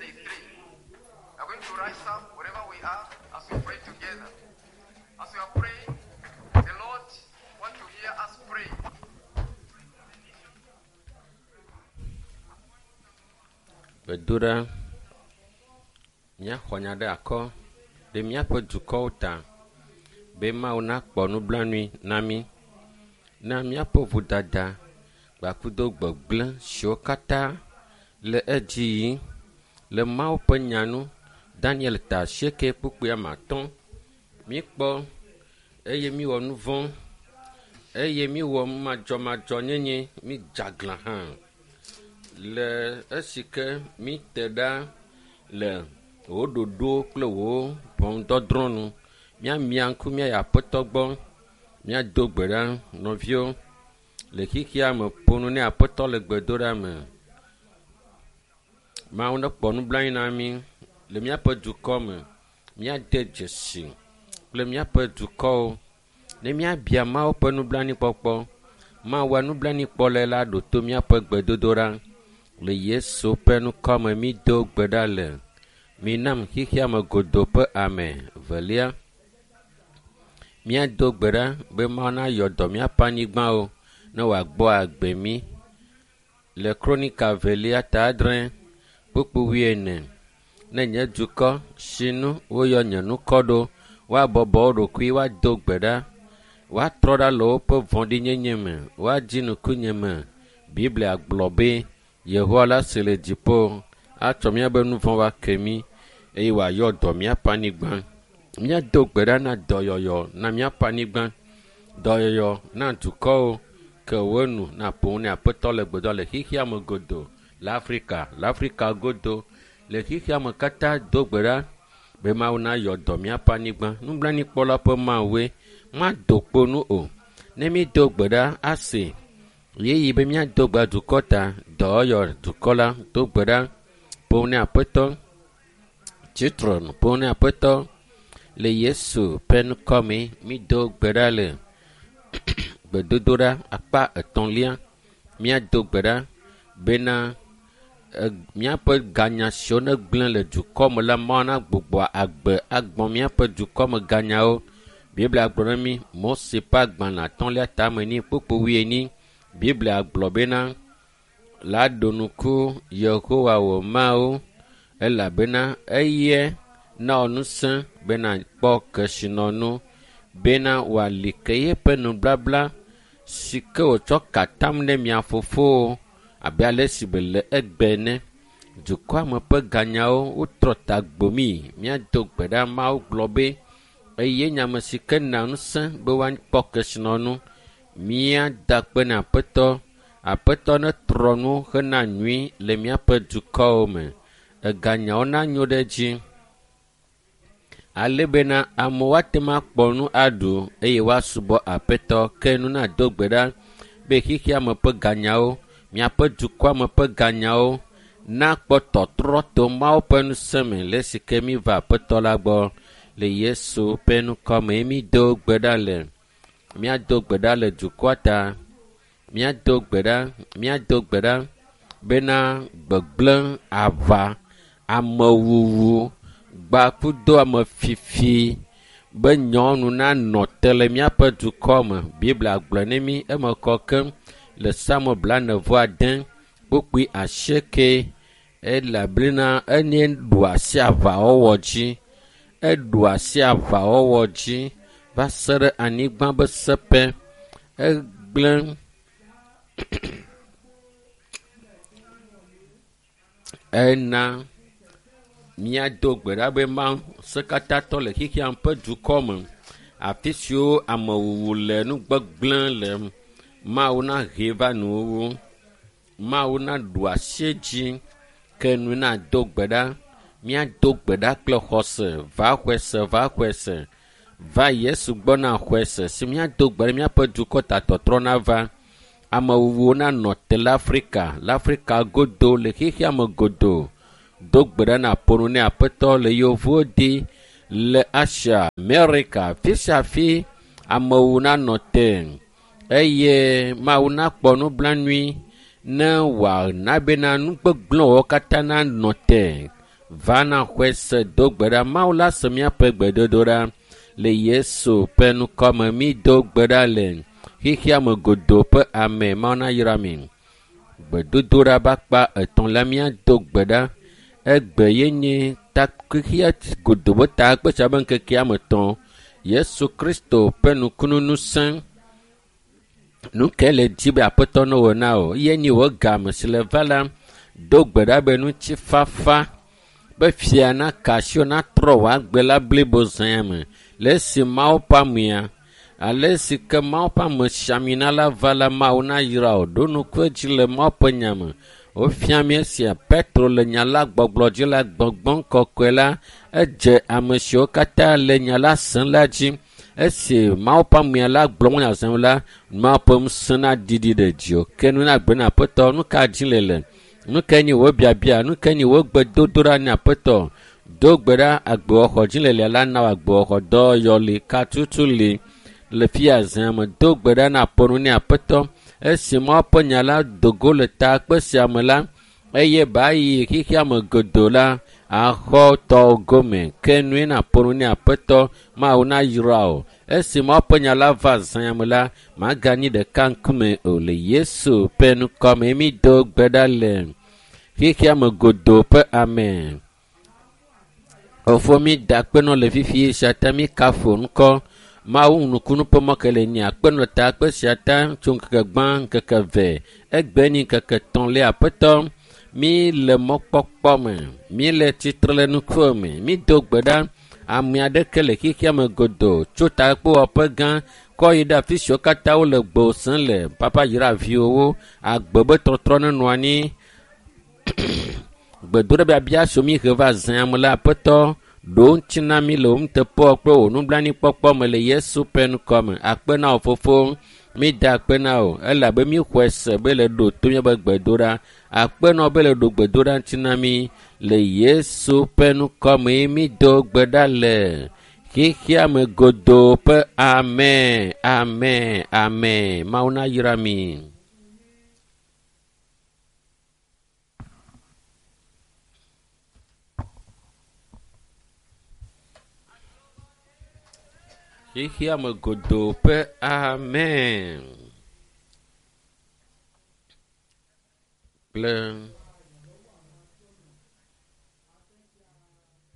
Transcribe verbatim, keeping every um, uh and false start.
day three. We are going to rise up wherever we are as we pray together. As we are praying, the Lord wants to hear us pray. Gbedoɖa. Míaxɔ nya ɖe akɔ ɖe míaƒe dukɔwo ta be Mawu nakpɔ nublanui na mí na míaƒe vodada kpakudo gbegblẽ siwo katã le edzi yim le Mawu ƒe nya nu. Daniel ta asieke kpukpui ame atɔ̃. Míkpɔ eye míwɔ nu vɔ̃ eye míwɔ madzɔmadzɔnyenye mídze aglã hã le esi ke míte ɖa le wò ɖoɖo kple wò ʋɔnudɔdrɔ̃ nu. Míamia ŋku míayi aƒetɔ gbɔ. Míado gbe ɖa nɔviwo le xexea me ƒo nu ne aƒetɔ le gbedoɖa me. Mawu nekpɔ nublanui na mí le míaƒe dukɔ me. Míade dzesi kple míaƒe dukɔwo ne míabia Mawu ƒe nublanuikpɔkpɔ. Mawua nublanuikpɔlae la ɖo to míaƒe gbedodoɖa. Le Yesu ƒe ŋkɔ me mído gbe ɖa le. Minam xexea me godoo ƒe ame velia. Míado gbe ɖa be Mawu nayɔ dɔ míaƒe anyigbawo ne wòagbɔ agbe mí. Le Kronika velia ta adre kpukpui wuiene. Ne nye dukɔ si nu woyɔ nye ŋkɔ ɖo, woabɔbɔ wo ɖokui, woado gbe ɖa, woatrɔ ɖa le woƒe vɔ̃ɖinyenye me, woadzi ŋkunye me. Biblia gblɔ be Yehowa la si le dziƒo atsɔ míaƒe nu vɔ̃ ake mí eye wòayɔ dɔ míaƒe anyigba. Míado gbe ɖa na dɔyɔyɔ na míaƒe anyigba, dɔyɔyɔ na dukɔwo ke wo nu naƒo nu ne aƒetɔ le gbedɔ le xexea me godoo le Afrika, le Afrika godo le xexea me katã do gbe ɖa be Mawu nayɔ dɔ míaƒe anyigba. Nublanuikpɔla ƒe Mawue mado kpo nu o. Ne mído gbe ɖa ase ɣeyiɣi be míado gbe dukɔ ta, dɔyɔ dukɔ la do gbe ɖa ƒo ne aƒetɔ tsitre ƒo ne aƒetɔ le Yesu ƒe ŋkɔ me mído gbe ɖa le gbedodoɖa akpa etɔ̃lia. Míado gbe ɖa bena míaƒe ganya siwo negblẽ le dukɔ me la Mawu nagbugbɔ agbe agbɔ míaƒe dukɔ me ganyawo. Biblia gblɔ na mí Mose ƒe agbalẽ atɔ̃lia tame ni kpukpui wuienyi. Biblia gblɔ bena la ɖo ŋku Yehowa wò Mawu elabena eye na wò ŋusẽ bena kpɔ kesinɔnu bena wòali ke yeƒe nubabla si ke wòtsɔ ka atam ne mia fofowo abe ale si wòle egbe ene. Dukɔa me ƒe ganyawo wotrɔ ta gbomi. Míado gbe ɖa Mawu gblɔ be eye nye ame si ke na ŋusẽ be woakpɔ kesinɔnu. Míada akpe na aƒetɔ. Aƒetɔ netrɔ nu hena nyui le míaƒe dukɔwo me. Eganyawo nanyo ɖe edzi ale bena amewo ate ŋu akpɔ nu aɖu eye woasubɔ aƒetɔ. Ke nu nado gbe ɖa be xexea me ƒe ganyawo, míaƒe dukɔa me ƒe ganyawo nakpɔ tɔtrɔ to Mawu ƒe ŋusẽ me le esi ke míva aƒetɔ la gbɔ. Le Yesu ƒe ŋkɔ me mído gbe ɖa le. Míado gbe ɖa le dukɔa ta. Míado gbe ɖa, míado gbe ɖa bena gbegblẽ, aʋa, amewuwu, gbakudo amefifi be nyɔnu nanɔ te le míaƒe dukɔ me. Biblia gblɔ ne mí eme kɔ keŋ le Psalmo blaene-vɔ-ade kpukpui asieke elabena enye ɖu asi aʋawɔwɔ dzi. Eɖu asi aʋawɔwɔ dzi va se ɖe anyigba ƒe seƒe. Egblẽ ena míado gbe ɖa be Mawu ŋusẽkatãtɔ le xexea ƒe dukɔ me afi siwo amewuwu le nugbegblẽ le Mawu nahe va nuwuwu. Mawu naɖu asi edzi ke nu nado gbe ɖa. Míado gbe ɖa kple xɔse va xɔe se va xɔe se va Yesu gbɔ na xɔe se si míado gbe ɖe míaƒe dukɔ ta tɔtrɔ nava. Amewuwuwo nanɔ te le Afrika, le Afrika godo le xexea me godoo. Do gbe ɖa na ƒo nu ne aƒetɔ le yevuwo di le Asia, Amerika, afi sia afi amewo nanɔ te eye Mawu nakpɔ nublanui ne wòana bena nu gbegblẽwo katã nanɔ te. Va na xɔe se do gbe ɖa. Mawu la se míaƒe gbedodoɖa le Yesu ƒe ŋkɔme. Mi do gbe ɖa le xexea me godoo ƒe ame. Mawu nayra mi. Gbedodoɖa ƒe akpa etɔ̃ la míado gbe ɖa. Egbe ye nye ta xexea godoo ƒe takpekpe ƒe ŋkekea me tɔ̃. Yesu Kristo ƒe nukunu ŋusẽ. Nu ke le dzi be Aƒetɔ ne wɔ na wò. Ye nyi wò game si le va la, do gbe ɖa be ŋutifafa be fia naka asi wò natrɔ wò agbe la blibo zãa me. Le esi Mawu ƒe amea, ale si ke Mawu ƒe amesiamina la va la, Mawu nayra wò. Ɖo ŋku edzi le Mawu ƒe nya me. Wofia mí esia Petro le nya la gbɔgblɔ dzi la, gbɔgbɔ kɔkɔe la edze ame siwo katã le nya la sem la dzi. Esi Mawu ƒe amea la gblɔ nya sem la, Mawu ƒe ŋusẽ naɖiɖi ɖe dziwò. Ke nu nagblɔ na Aƒetɔ, nu ka dzi le le? Nu kae nye wò biabia? Nu kae nye wò gbedodoɖa na Aƒetɔ? Do gbe ɖa agbewɔxɔ dzi le lia la na wò agbewɔxɔ dɔyɔ li katutu li le fia zã me. Do gbe ɖa na ƒo nu ne Aƒetɔ. Esi Mawu ƒe nya la do go le takpe sia me la, eye ba yi xexea me godoo la, axɔ tɔwò gome. Ke nue na ƒo nu ne Aƒetɔ. Mawu nayra wò. Esi Mawu ƒe nya la va zã me la, maganyi ɖeka ŋkume o. Le Yesu ƒe ŋkɔme mi do gbe ɖa le xexea me godoo ƒe ame. Efo mi da akpe nɔ le fifi sia ta mi kafo ŋkɔ. Mawu nukunu ƒe mɔ ke le nyi akpe nɔ takpe sia ta tso ŋkeke gbã ŋkeke ve. Egbe nyi ŋkeke etɔ̃lia. Aƒetɔ, mi le mɔkpɔkpɔ me. Mi le tsitre le nukuwo me. Mi do gbe ɖa. Ame aɖeke le xexea me godoo tso takpewɔƒe gã kɔ yi ɖe afi siwo katã wole gbe sem le. Papa yra viwòwo. Agbe be tɔtrɔ nenɔ anyi. Gbedoɖa biabia siwo mi he va zã me la, Aƒetɔ, ɖo ŋuti na mi le wò nuteƒewɔwɔ kple wò nublanuikpɔkpɔ me le Yesu ƒe ŋkɔ me. Akpe na wò fofo. Mi da akpe na wò elabe mi xɔe se be le ɖo to míaƒe gbedoɖa. Akpe na wò be le ɖo gbedoɖa ŋuti na mi le Yesu ƒe ŋkɔ me. Mi do gbe ɖa le xexea me godoo ƒe amen, amen, amen. Mawu nayra mi. Xexea me godoo ƒe amen. Kple